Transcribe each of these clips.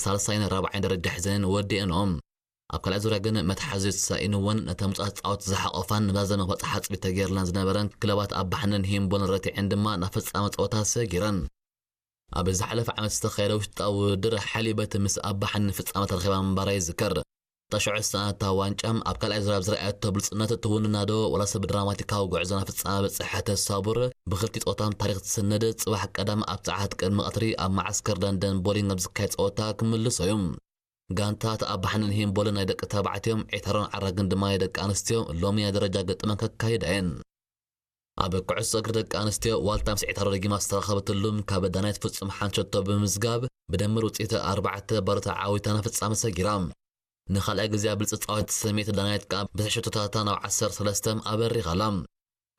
ሳልሳይን ራብዓይን ደረጃ ሒዘን ወዲአንኦም። ኣብ ካልኣይ ዙርያ ግን መትሓዚ ተሳኢንወን ነተን ብሉጻት ተጻወትቲ ዝሓቖፋን ንባዘመ ክበጽሓ ጽቢት ተገይርለን ዝነበረን ክለባት ኣባሕንን ሂምቦልን ረቲዐን ድማ ናብ ፍጻመ ጸወታ ሰጊረን። ኣብ ዝሓለፈ ዓመት ዝተኻየደ ውሽጣዊ ውድድር ሓሊበት ምስ ኣባሕኒ ፍጻመ ተረኺባ ምንባራ ይዝከር። ተሽዑ ዝተኣታ ዋንጫ ኣብ ካልኣይ ዙርያ ኣብ ዝረኣየቶ ብሉጽነት ትውንና ዶ ወላስ ብድራማቲካዊ ጉዕዞ ናብ ፍጻመ በጽሐት ሳቡር ብኽልቲኡ ጾታ ታሪኽ ትስንድ። ጽባሕ ቀዳም ኣብ ሰዓት ቅድሚ ቀትሪ ኣብ መዓስከር ለንደን ቦሊንግ ኣብ ዝካየድ ጸወታ ክምልሶ እዩ። ጋንታት ኣባሕንን ሂምቦልን ናይ ደቂ ተባዕትዮም፣ ዒታሮን ዓራግን ድማ ናይ ደቂ ኣንስትዮ ሎሚ ናይ ደረጃ ገጥመን ከካይዳ እየን። ኣብ ኩዕሶ እግሪ ደቂ ኣንስትዮ ዋልታ ምስ ዒታሮ ደጊማ ዝተራኸበትሉም ካብ ዳናይት ፍጹም ሓንቲ ሸቶ ብምዝጋብ ብድምር ውፅኢት ኣርባዕተ ባዶ ተዓዊታ ናብ ፍጻመ ሰጊራ። ንኻልኣይ ግዜ ኣብ ብልፂ ፃወት ተሰመየት ዳናይት ከዓ ብትሽዓተ ሸቶታታ ናብ ዓሰርተ ሰለስተ ኣበሪኻ ኣላ።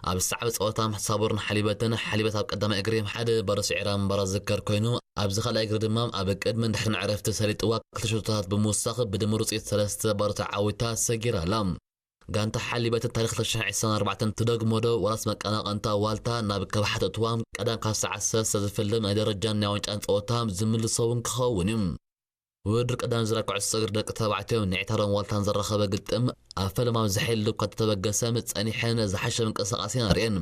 ኣብ ሰዓብ ጸወታ ሳቡርን ሓሊበትን ሓሊበት ኣብ ቀዳማይ እግሪ ሓደ ባዶ ስዒራ ምንባራ ዝዝከር ኮይኑ፣ ኣብዚ ካልኣይ እግሪ ድማ ኣብ ቅድምን ድሕርን ዕረፍቲ ሰሊጥዋ ክልተ ሸቶታት ብምውሳኽ ብድምር ውፅኢት ሰለስተ ባዶ ተዓዊታ ሰጊራ ኣላ። ጋንታ ሓሊበትን ታሪኽ ክልተ ሽሕን ዕስራን ኣርባዕተን ትደግሞ ዶ ዋላስ መቀናቐንታ ዋልታ ናብ ከብሓት እትዋ ቀዳም ካብ ሰዓት ሰለስተ ዝፍልም ናይ ደረጃን ናይ ዋንጫን ጸወታ ዝምልሶ እውን ክኸውን እዩ። ውድድር ቀዳም ዝራ ኩዕሶ እግሪ ደቂ ተባዕትዮ ንዒታሮን ዋልታን ዘራኸበ ግጥም ኣብ ፈለማ ብዝሓይል እኳ ተተበገሰ ጸኒሐን ዝሓሸ ምንቅስቓስ ኢና ርእየን።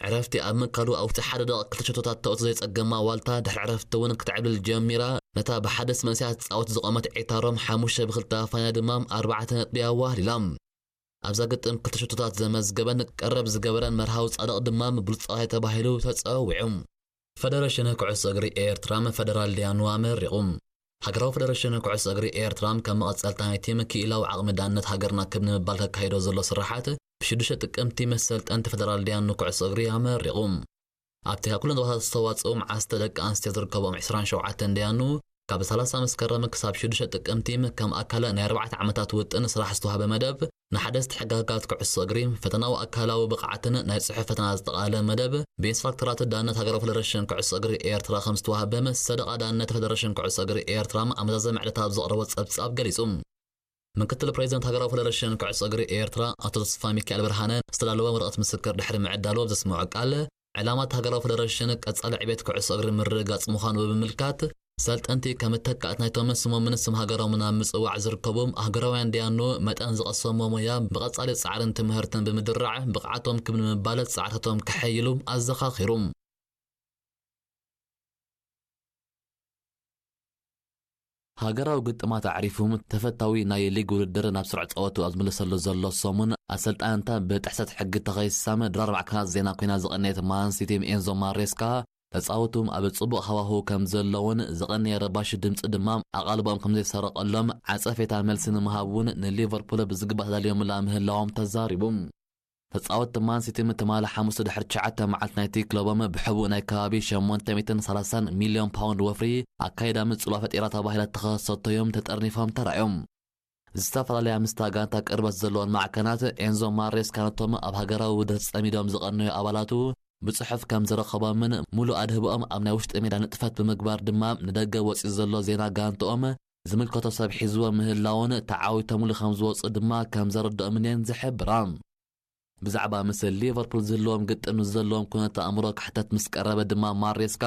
ዕረፍቲ ኣብ ምካዱ ኣብ ውሽጢ ሓደ ደቂቕ ክልተ ሸቶታት ተእቱ ዘይጸገማ ዋልታ ድሕሪ ዕረፍቲ እውን ክትዕብልል ጀሚራ ነታ ብሓደስ መንእሰያት ትጻወት ዝቖመት ዒታሮም ሓሙሽተ ብክልተ ኣፋንያ ድማ ኣርባዕተ ነጥቢ ኣዋህሊላ። ኣብዛ ግጥም ክልተ ሸቶታት ዘመዝገበን ቀረብ ዝገበረን መርሃዊ ጻድቕ ድማ ብሉጽ ጸዋታይ ተባሂሉ ተጸዊዑ። ፈደረሽን ኩዕሶ እግሪ ኤርትራ ፈደራል ዳያኑ ኣመሪቑ። ሃገራዊ ፈደረሽን ኩዕሶ እግሪ ኤርትራ ከም መቐጸልታ ናይቲ ምክኢላዊ ዓቕሚ ዳነት ሃገርና ክብ ንምባል ከካይዶ ዘሎ ስራሓት ብሽዱሽተ ጥቅምቲ መሰልጠንቲ ፈደራል ዳያኑ ኩዕሶ እግሪ ኣመሪቑ። ኣብቲ ካብ ኩለን ዞባታት ዝተዋጽኡ መዓስተ ደቂ ኣንስትዮ ዝርከቦም ዕስራን ሸውዓተን ዳያኑ ካብ ሰላሳ መስከረም ክሳብ ሽዱሽተ ጥቅምቲ ከም ኣካል ናይ ኣርባዕተ ዓመታት ውጥን ስራሕ ዝተዋህበ መደብ ንሓደስቲ ሕግጋት ኩዕሶ እግሪ፣ ፈተናዊ ኣካላዊ ብቕዓትን ናይ ጽሑፍ ፈተና ዘጠቓለለ መደብ ብኢንስትራክተራት ዳነት ሃገራዊ ፈደረሽን ኩዕሶ እግሪ ኤርትራ ከም ዝተዋህበ ሰደቓ ዳነት ፈደረሽን ኩዕሶ እግሪ ኤርትራ ኣብ መዛዘሚ ዕለታት ኣብ ዘቕረቦ ጸብጻብ ገሊጹ። ምክትል ፕሬዚደንት ሃገራዊ ፈደረሽን ኩዕሶ እግሪ ኤርትራ ኣቶ ተስፋ ሚካኤል ብርሃነ ዝተዳለወ ወረቐት ምስክር ድሕሪ ምዕዳሉ ኣብ ዘስምዖ ቃል፣ ዕላማ እቲ ሃገራዊ ፈደረሽን ቀጻሊ ዕቤት ኩዕሶ እግሪ ምርግጋጽ ምዃኑ ብምምልካት፣ ሰልጠንቲ ከም ተካእት ናይቶም ስሞምን ስም ሃገሮምን ኣብ ምጽዋዕ ዝርከቡ ሃገራውያን ዳያኑ መጠን ዝቐሰሞ ሞያ ብቐጻሊ ጻዕርን ትምህርትን ብምድራዕ ብቕዓቶም ክብ ንምባል ጻዕርታቶም ከሐይሉ ኣዘኻኺሩ። ሃገራዊ ግጥማት ኣዕሪፉ ተፈታዊ ናይ ሊግ ውድድር ናብ ስሩዕ ጸወቱ ኣብ ዝምለሰሉ ዘሎ ሰሙን፣ ኣሰልጣንታ ብጥሕሰት ሕጊ ተኸሲሳ ድራር ማዕከናት ዜና ኮይና ዝቐነየት ማን ሲቲ ኤንዞ ማሬስካ ተጻወቱ ኣብ ጽቡቕ ሃዋህው ከም ዘለውን ዝቐነየ ረባሺ ድምጺ ድማ ኣቓልቦኦም ከም ዘይሰረቐሎም ዓጸፌታ መልሲ ንምሃብ እውን ንሊቨርፑል ብዝግባእ ተዳልዮምላ ምህላዎም ተዛሪቡ። ተጻወትቲ ማን ሲቲ ትማሊ ሓሙስ ድሕሪ ትሽዓተ መዓልቲ ናይቲ ክለቦም ብሕቡእ ናይ ከባቢ ሸሞንተ ሚእትን ሰላሳን ሚልዮን ፓውንድ ወፍሪ ኣካይዳ ምጽዋ ፈጢራ ተባሂላ እተኸሰሰቶ እዮም ተጠርኒፎም ተራእዮም። ዝተፈላለያ ምስታ ጋንታ ቅርበት ዘለወን ማዕከናት ኤንዞ ማሬስካ ነቶም ኣብ ሃገራዊ ውድድር ጸሚዶም ዝቐነዩ ኣባላቱ ብጽሑፍ ከም ዝረኸቦምን ሙሉእ ኣድህቦኦም ኣብ ናይ ውሽጢ ሜዳ ንጥፈት ብምግባር ድማ ንደገ ወጺኡ ዘሎ ዜና ጋንትኦም ዝምልከቶ ሰብ ሒዝዎ ምህላውን ተዓዊቶምሉ ከም ዝወጹ ድማ ከም ዘረድኦምን እየን ዝሕብራ። ብዛዕባ ምስ ሊቨርፑል ዝህልዎም ግጥም ንዘለዎም ኩነት ኣእምሮ ክሕተት ምስ ቀረበ ድማ ማሬስካ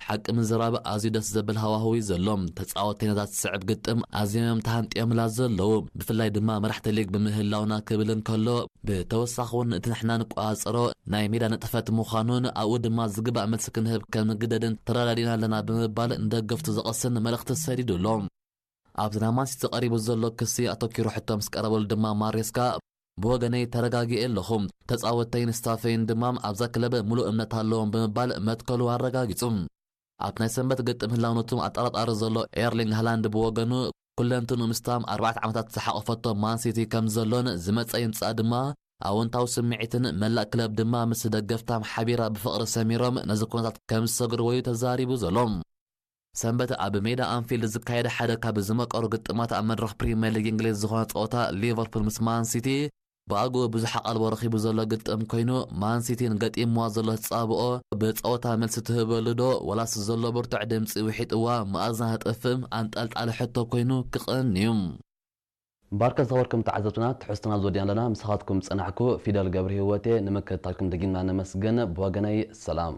ሓቂ ምዝራብ ኣዝዩ ደስ ዘብል ሃዋህው እዩ ዘሎ። ተጻወተይ ነዛ ትስዕብ ግጥም ኣዝዮም እዮም ተሃንጥዮምላ ዘለዉ። ብፍላይ ድማ መራሕቲ ሊግ ብምህላውና ክብል እንከሎ፣ ብተወሳኺ እውን እቲ ንሕና ንቆጻጸሮ ናይ ሜዳ ንጥፈት ምዃኑን ኣብኡ ድማ ዝግባእ መልሲ ክንህብ ከም ንግደድን ተረዳዲእና ኣለና ብምባል ንደገፍቱ ዘቐስን መልእኽቲ ሰዲዱ ኣሎ። ኣብዚ ናይ ማንሲቲ ቀሪቡ ዘሎ ክሲ ኣተኪሩ ሕቶ ምስ ቀረበሉ ድማ ማሬስካ፣ ብወገነይ ተረጋጊኤ ኣለኹ። ተጻወተይን ስታፈይን ድማ ኣብዛ ክለብ ሙሉእ እምነት ኣለዎም ብምባል መትከሉ ኣረጋጊጹ። ኣብ ናይ ሰንበት ግጥም ህላውነቱ ኣጠራጣሪ ዘሎ ኤርሊንግ ሃላንድ ብወገኑ፣ ኩለንትኑ ምስታም ኣርባዕተ ዓመታት ዝሓቆፈቶ ማንሲቲ ከም ዘሎን ዝመጸ ይምጻእ ድማ ኣወንታዊ ስምዒትን መላእ ክለብ ድማ ምስ ደገፍታም ሓቢራ ብፍቕሪ ሰሚሮም ነዚ ኩነታት ከም ዝሰግርዎ እዩ ተዛሪቡ ዘሎ። ሰንበት ኣብ ሜዳ ኣንፊልድ ዝካየደ ሓደ ካብ ዝመቀሩ ግጥማት ኣብ መድረኽ ፕሪምየር ሊግ እንግሊዝ ዝኾነ ጸወታ ሊቨርፑል ምስ ማን ሲቲ ብኣግኡ ብዙሕ ኣቓልቦ ረኺቡ ዘሎ ግጥም ኮይኑ፣ ማን ሲቲን ገጢምዋ ዘሎ ተጻብኦ ብጸወታ መልሲ ትህበሉ ዶ ወላስ ዘሎ ብርቱዕ ድምጺ ውሒጥዋ መኣዝና ተጥፍእ ኣንጠልጣሊ ሕቶ ኮይኑ ክቐኒ እዩ። ባርከ ዝኸበርኩም ተዓዘብትና፣ ትሕዝቶና ዝወዲና ኣለና። ምሳኻትኩም ዝጸናሕኩ ፊደል ገብረ ህይወቴ። ንምክትታልኩም ደጊምና ነመስግን። ብወገነይ ሰላም።